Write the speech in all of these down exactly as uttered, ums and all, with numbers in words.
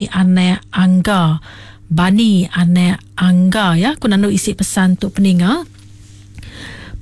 anak Angga. Bani anak Angga ya. Aku nandu isi pesan tu peninga.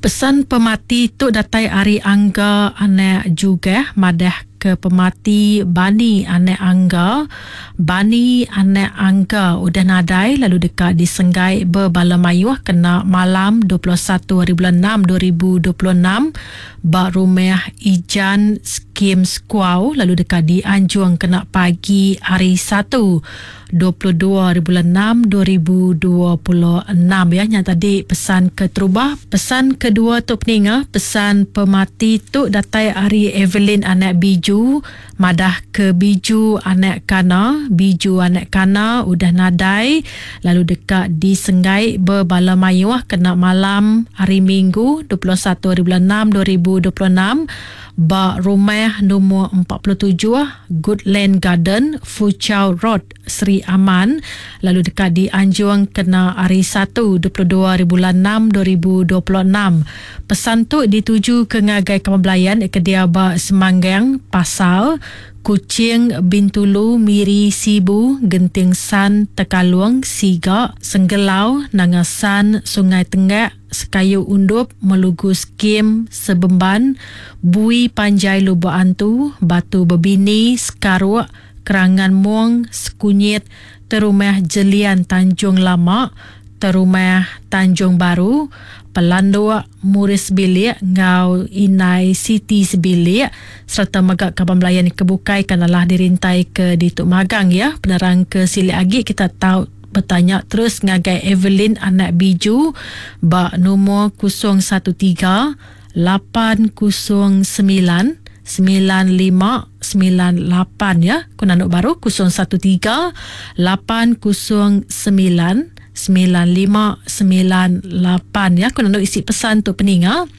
Pesan pemati tu datai ari Angga anak Jugah madah ke pemati Bani anak Angga. Bani anak Angga udah nadai lalu deka disenggai bebala mayuh kena malam dua puluh satu hari bulan enam dua ribu dua puluh enam ba rumah Ijan Skim Squaw lalu deka dianjung kena pagi hari Satu dua puluh dua hari bulan enam dua ribu dua puluh enam ya. Nya tadi pesan keterubah. Pesan kedua tu peninga, pesan pemati tu datai ari Evelyn anak Biju madah ke Biju anak Kana. Biju anak Kana udah nadai lalu deka disenggai bebala mayuh kena malam hari Minggu dua puluh satu hari bulan enam dua ribu dua puluh enam ba rumah nombor empat puluh tujuh Goodland Garden, Foochow Road, Sri Aman lalu deka dianjung kena hari Satu dua puluh dua hari bulan enam dua ribu dua puluh enam. Pesan tu dituju ke ngagai kaban belayan ke dia ba Semanggang, Pasal, Kuching, Bintulu, Miri, Sibu, Genting San, Tekalung, Siga, Senggelau, Nanga San, Sungai Tenggak, Sekayu Undup, Melugu Skim, Sebemban, Bui Panjai Lubok Antu, Batu Bebini, Sekaruk, Kerangan Mong, Sekunyit, Terumah Jelian Tanjung Lama, Terumah Tanjung Baru, Pelanduk, Muris Bilik ngau Inai Siti Sebilik serta mega kaban belayan kebukai kanalah dirintai ke ditu magang ya. Penerang ke silik agi kita tahu bertanya terus ngagai Evelyn anak Biju ba nombor kosong satu tiga lapan kosong sembilan sembilan lima sembilan lapan ya. Ku nanduk baru kosong satu tiga lapan kosong sembilan sembilan lima sembilan lapan ya. Ku nanduk isi pesan tu peninga.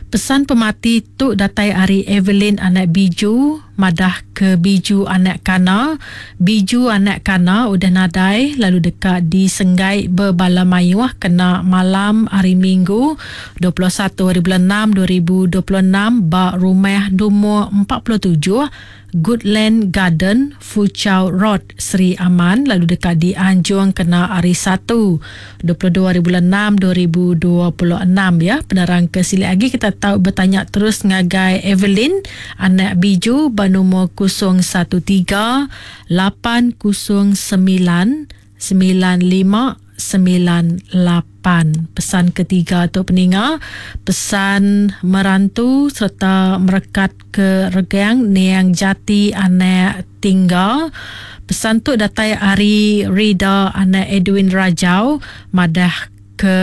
Pesan pemati tu datai ari Evelyn anak Biju madah ke Biju anak Kana. Biju anak Kana udah nadai lalu deka disenggai bebala mayuh kena malam hari Minggu dua puluh satu hari bulan enam dua ribu dua puluh enam ba rumah nombor empat puluh tujuh Goodland Garden, Foochow Road, Sri Aman lalu deka dianjung kena hari Satu dua puluh dua hari bulan enam dua ribu dua puluh enam ya. Penerang ke silik lagi kita tahu bertanya terus ngagai Evelyn anak Biju ba nombor kosong satu tiga lapan kosong sembilan sembilan lima sembilan lapan. Pesan ketiga tu peninga, pesan merantu serta merekat ke regang Niang Jati anak Tingga. Pesan tu datai ari Rida anak Edwin Rajau madah ke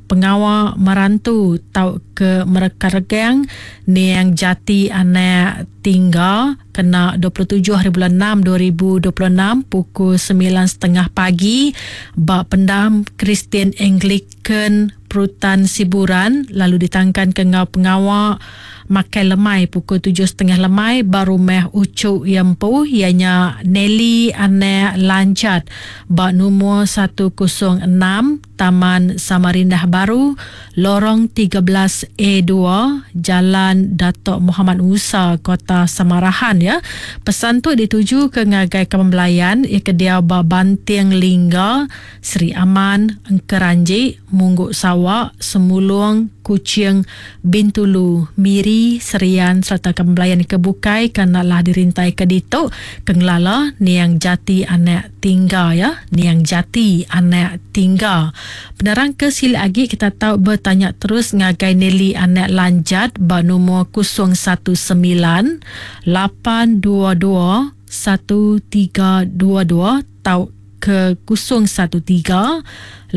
pengawa merantu tau ke merekat regang Niang Jati anak Tingga kena dua puluh tujuh hari bulan enam dua ribu dua puluh enam pukul sembilan setengah pagi ba pendam Kristian Anglican Perutan Siburan lalu ditangkan ke ngau pengawa makai lemai pukul tujuh setengah lemai ba rumah Ucuk Yempu ianya Nelly anak Lancat ba nombor satu kosong enam Taman Samarindah Baru, Lorong tiga belas A dua, Jalan Datuk Muhammad Musa, Kota Samarahan ya. Pesan tu dituju ke ngagai kaban belayan ia ke dia ba Banting Lingga, Sri Aman, Engkeranji, Mungguk Sawak, Semulung, Kuching, Bintulu, Miri, Serian serta kaban belayan ke bukai kanalah dirintai ke ditu kengelala Niang Jati anak Tingga ya. Niang Jati anak Tingga. Penerang ke silik lagi kita tahu bertanya terus ngagai Nelly anak Lanjat ba nombor kosong satu sembilan lapan dua dua satu tiga dua dua tau ke kosong satu tiga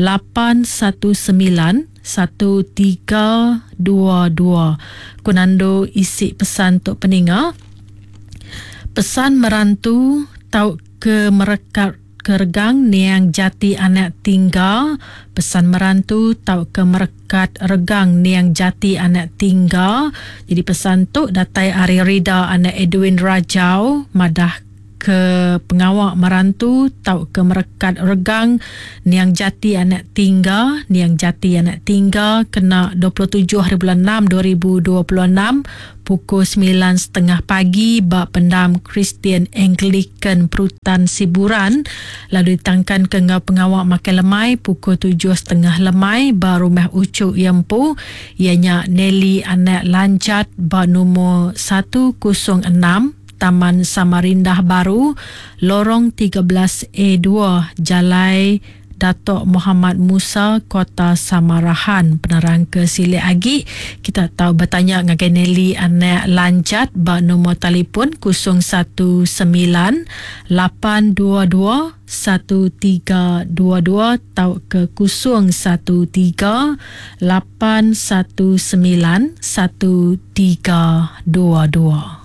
lapan satu sembilan satu tiga dua dua. Kunando isi pesan tok peninga. Pesan merantu tau ke merekat keregang Niang Jati anak Tingga. Pesan merantu tau ke merekat regang Niang Jati anak Tingga. Jadi pesan tu datai ari Rida anak Edwin Rajau madah ke pengawa merantu tauka merekat regang niang Jati anak Tingga, niang Jati anak Tingga kena dua puluh tujuh hari bulan enam dua ribu dua puluh enam pukul sembilan tiga puluh pagi ba pendam Kristian Anglican Perutan Siburan, lalu ditangkan ke enggau pengawa makai lemai pukul tujuh tiga puluh lemai ba rumah Ucuk Yempu, ianya Nelly anak Lanjat ba nombor satu kosong enam Taman Samarindah Baru, Lorong tiga belas A dua, Jalai Datuk Muhammad Musa, Kota Samarahan. Penerang ke silik agi, kita tahu bertanya ngagai Nelly anak Lanjat ba nombor telefon kosong satu sembilan lapan dua dua satu tiga dua dua atau ke kosong satu tiga lapan satu sembilan satu tiga dua dua.